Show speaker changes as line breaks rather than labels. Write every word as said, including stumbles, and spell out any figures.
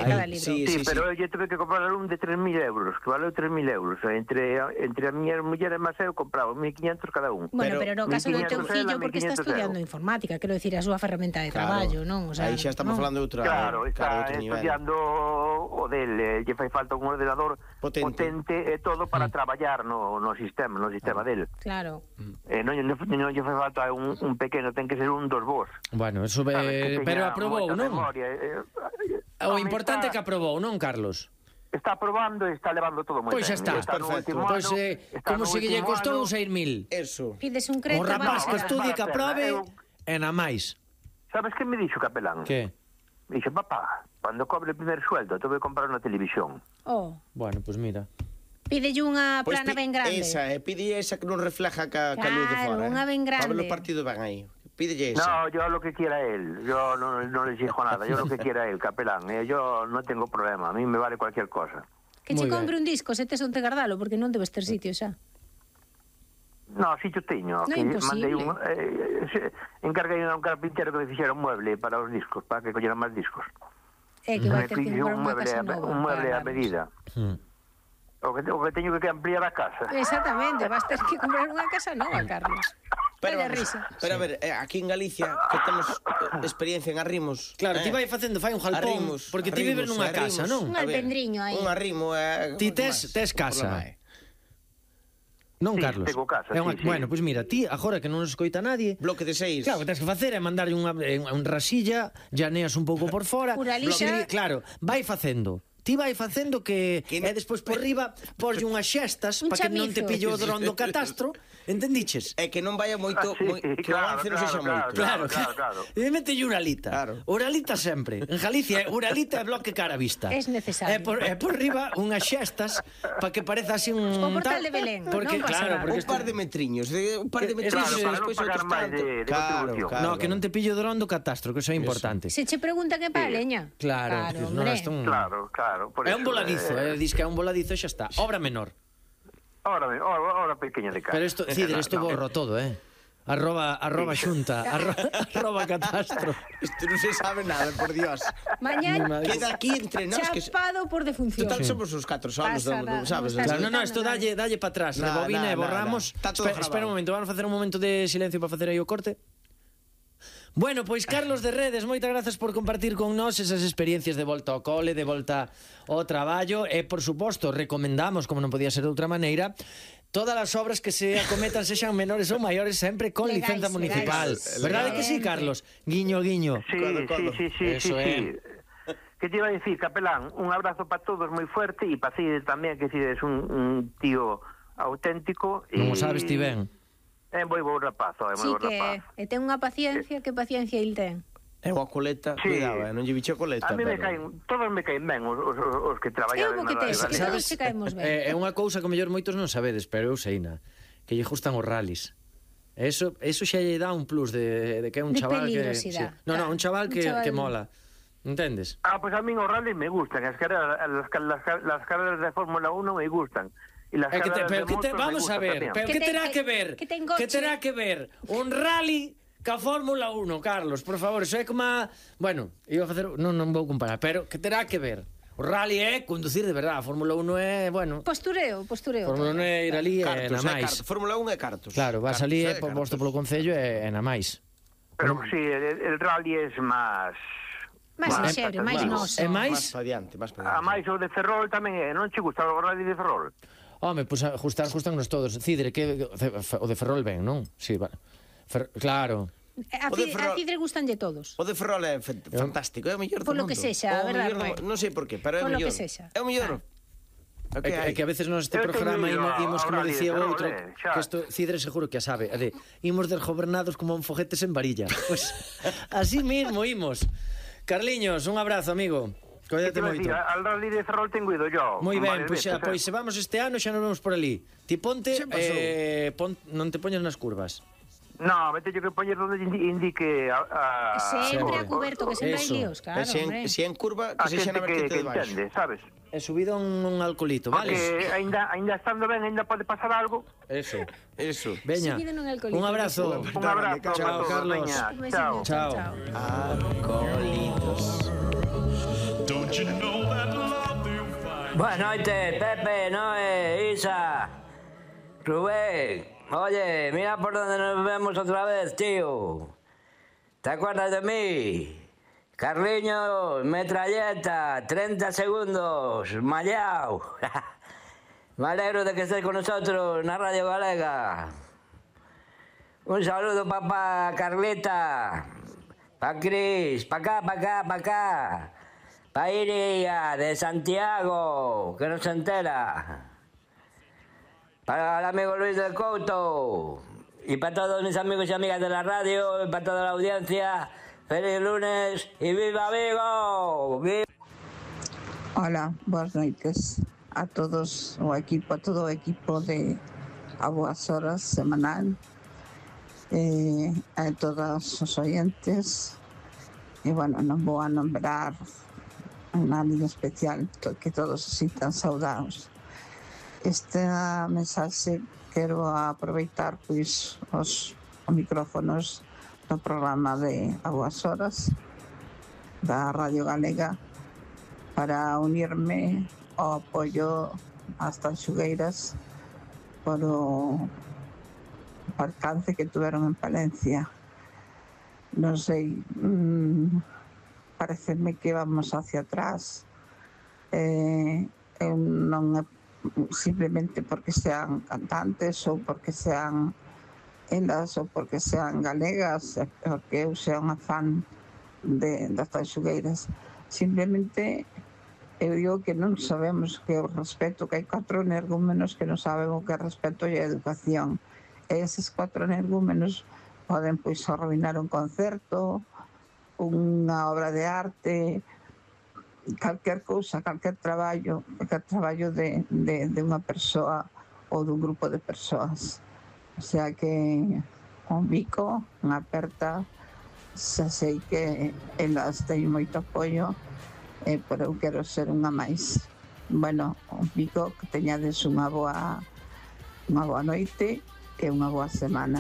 de cada libro.
Sí,
Sí,
sí,
pero
sí.
eu tuve que comprar un de tres mil euros, que valeu tres mil euros. Entre, entre a miña muller e máis eu compraba mil quinientos cada un.
Bueno, pero,
Pero
no caso do teu
mil quinientos
fillo,
ela,
porque está
mil quinientos
estudiando
euros.
informática, quero dicir, a súa ferramenta de
Claro.
traballo, non? O sea,
Aí xa estamos
non.
falando de outra,
Claro, está
outro nivel.
estudiando o del, eh, lle fai falta un ordenador
Potente.
potente e todo para
Mm.
traballar no, no sistema, no sistema del.
Claro.
Eh, non, non, non lle fai falta un, un pequeno, ten que ser un dos vos.
Bueno, eso
Sabes,
eh,
que
pero
teña
aprobou,
moita
non?
memoria, eh, eh,
O
home,
importante é
está,
que aprobou, non, Carlos?
Está aprobando e está levando todo moi
Pois
ben.
xa está.
Está no
Perfecto.
último
Pois
ano,
eh,
está
como
no
se lle
último
costou
ano.
seis mil.
Eso.
Pides un
O
crédito,
rapaz que
vamos,
estudie, que
Vale,
aprobe,
eu-
e na máis.
Sabes que me dixo Capelán?
Que?
Me dixo, papá, cando cobre o primer sueldo, te voy a comprar unha televisión.
Oh,
Bueno, pois mira.
pídelle unha
Pois
plana
pi-
ben grande.
Esa, eh, pide esa que non refleja ca, ca luz de
Claro,
fora.
unha ben grande.
Para ver o partido van aí. Pídelle esa.
No, yo lo que quiera él. Yo no, no le exijo nada. Yo lo que quiera él, Capelán. Eh, yo no tengo problema. A mí me vale cualquier cosa.
Que che
Moi
compre
ben.
un disco, se tes onde guardalo, porque non debes ter sitio xa.
No, si yo teño.
No,
que
imposible.
mandei un, eh, se, encarguei a un carpintero que me fixera un mueble para os discos, para que collera máis discos.
É que vai
Me
ter que
fixe
comprar
un
unha
mueble,
casa
a,
nova.
un mueble
para
a
darnos.
medida.
Hmm.
O que, o que teño que ampliar a casa.
Exactamente, vas ter que comprar unha casa nova, Carlos.
Pero,
Calla
vamos,
risa.
pero a ver, eh, aquí en Galicia que temos eh, experiencia en arrimos.
Claro,
eh,
ti vai facendo, fai un jalpón,
arrimos,
porque ti vives
arrimos,
nunha
arrimos.
casa, non?
Un
A ver,
alpendriño aí.
Un arrimo é...
Ti tes- tes casa. Non,
Sí,
Carlos?
tengo casa,
É unha-
sí, sí.
Bueno, pois mira, ti, agora que non nos escoita nadie,
Bloque de seis.
claro, o que tens que facer é mandarlle unha, eh, un rasilla, llaneas un pouco por fora,
Uralixa.
bloque- claro, vai facendo. Ti vai facendo que,
Que
e despois por riba porlle unhas xestas
Un
para que non te
chamizo.
pillo o dron do catastro, entendiches?
É que non vaya moito,
Ah, sí,
moi, que o
claro,
avance non
claro,
sexa
claro,
moito.
Claro,
claro, claro.
E mételle Uralita.
Claro.
Uralita sempre. En Galicia, Uralita é bloque cara a vista.
Es necesario.
E por, e por riba unhas xestas para que pareza así un...
O portal
tal,
de Belén,
Porque,
non pasa
claro,
nada.
porque
Un par de metriños, de, un par de
Que-
metriños
claro,
e
para
despois
non pagar
outros
máis
tanto.
de- de
Claro,
contribución.
claro.
no, que non te pillo dron do catastro, que eso é importante.
Se che preguntan que para a leña.
Claro, que non
hombre.
é un...
Claro, claro. Por
É un
eso,
voladizo,
eh,
eh, dis que é un voladizo e xa está. Obra menor.
Ahora, ahora, ahora pequeña de casa.
Pero isto, Cider, isto
No, no.
borro todo, eh. Arroba, arroba xunta, arroba, arroba catastro.
Isto non se sabe nada, por Dios.
Mañá
Queda aquí entre nós que...
chapado por defunción.
Total, somos os catro solos,
Pasa
non, non
nada,
sabes?
non estás
Claro, no, no,
Nada,
isto
nada.
dalle, dalle para atrás,
Nada,
rebobina e
nada,
borramos.
nada. Está todo
Espera,
grabado.
espera un momento, vamos a facer un momento de silencio para facer aí o corte. Bueno, pois Carlos de Redes, moitas grazas por compartir con nós esas experiencias de volta ao cole, de volta ao traballo e, por suposto, recomendamos, como non podía ser de outra maneira, todas as obras que se acometan sexan menores ou maiores sempre con
Legais,
licenza municipal.
legais.
Verdade que sí, Carlos? Guiño, guiño.
Sí,
Codo,
sí,
codo.
sí, sí,
Eso
sí,
é.
sí. Que te iba a decir, Capelán? Un abrazo para todos moi fuerte e para Cide tamén, que Cide es un, un tío auténtico.
Non o
e-
sabes ti ben.
É moi bo rapazo, é moi
Sí
bo
que
rapaz.
e ten unha paciencia, que paciencia il ten.
É unha coleta,
Sí.
cuidado, eh, non lle bicho coleta.
A mí me
pero-
caen, todos me caen ben os, os, os que traballan
Eu vou
na
que tes,
radio
que
galega.
todos se caemos ben.
É, é unha cousa que o mellor moitos non sabedes, pero eu seina, que lle gustan os rallies. Eso, eso xa lle dá un plus de, de que é un
De
chaval que...
peligrosidade.
No, no, un chaval
Un
que,
chaval-
que mola. Entendes?
Ah, pues a mí os rallies me gustan, as carreras, las, las, las carreras de Fórmula uno me gustan. Y las
É que te,
carreras
pero
de
que te,
motos me
vamos a
gustan
ver,
tamén.
pero
Que
que
ten-
terá
que-
que ver?
que ten
Que
coche.
terá que ver un rally ca Fórmula uno, Carlos, por favor, eso é como a... Bueno, iba a facer, non, non vou comparar, pero que terá que ver? O rally é conducir de verdade, a Fórmula uno é, bueno,
Postureo, postureo.
Fórmula uno é ir ali e
Cartos,
na
é
máis.
cartos. Fórmula un é cartos.
Claro, vas
Cartos,
ali
é
e posto
cartos.
polo Concello e, e na máis.
Pero sí, el, el rally es más...
Máis
más
lixeiro, máis
atractivo.
noso.
E
Máis
máis,
pa diante, máis pa
A
diante.
máis o de Ferrol tamén é, non che gusta o rally de Ferrol?
home, pois pues, ajustar, ajustarnos todos. Cidre, que o de Ferrol ben, non? Sí, vale. Fer, claro.
A,
O de
Cid,
Ferrol-
a Cidre gustanlle todos.
O de Ferrol é fe- fantástico, é o mellor do
Polo
mundo.
que sexa,
O
verdad,
mellor do-
Rui?
Non sei por qué, pero é o
Polo
mellor.
que sexa.
É o mellor.
É que, é que a veces neste
Eu
programa
teño ido
imos, imos
ao
como
rally de
dicía o
Ferrol,
outro,
eh, xa.
que isto Cidre seguro que a sabe, é de, imos desgobernados como un foguetes en varilla. Pues así mismo imos. Carliños, un abrazo, amigo.
Que te
Coídate
iba a
moito.
decir, al rally de Ferrol tengo ido yo.
Moi ben,
varias
pois xa,
veces,
pois
eh.
se vamos este ano xa nos vemos por ali. Ti ponte,
Xa pasou.
eh, pon, non te poñas nas curvas.
No, vete yo que poñer donde indi- indique a... a
Sempre
Sempre.
a cuberto, que sempre hai
Eso.
líos, claro,
E se en,
hombre.
se en curva,
a
que sexa
xente
na
que,
vertente
que
de baixo.
entende, sabes?
E subido un, un alcoholito, vale?
Porque ainda, ainda estando ben, ainda pode pasar algo.
Eso.
Eso.
Veña.
Subido nun alcoholito.
Un abrazo.
Un abrazo
Chao,
para todos,
Carlos.
veña,
Un besiño,
chao.
Chao.
chao.
Alcoholitos.
Don't you know Boas noites, Pepe, Noé, Isa, Rubén. Oye, mira por donde nos vemos otra vez, tío. ¿Te acuerdas de mí? Carliños, metralleta, treinta segundos, mallao. Me alegro de que estés con nosotros en la Radio Galega. Un saludo para Carlita, para Cris, para acá, para acá, para acá. Para Iria, de Santiago, que no se entera. Para el amigo Luis del Couto. Y para todos mis amigos y amigas de la radio, y para toda la audiencia, feliz lunes y viva Vigo. ¡Viva!
Hola, boas noites a todos o equipo, a todo o equipo de A Boas Horas semanal, eh, a todos os oyentes. E, bueno, non vou a nombrar a nadie especial, to- que todos se sintan saudados. Esta mensaxe quero aproveitar pois os, os micrófonos do programa de A Boas Horas da Radio Galega para unirme ao apoio ás tanxugueiras por o alcance que tuveron en Palencia. Non sei, mmm, pareceme que vamos hacia atrás. Eh, eu non é simplemente porque sean cantantes ou porque sean elas ou porque sean galegas, é porque eu sea unha fan de, das tanxugueiras. Simplemente eu digo que non sabemos que o respeto, que hai catro energúmenos que non saben o que é respeto e a educación. E eses catro energúmenos poden pois arruinar un concerto, unha obra de arte, calquer cousa, calquer traballo, calquer traballo de, de, de unha persoa ou dun grupo de persoas. O sea que un bico, unha aperta, xa sei que elas teñen moito apoio, eh, pero eu quero ser unha máis. Bueno, un bico, que teñades unha boa, unha boa noite e unha boa semana.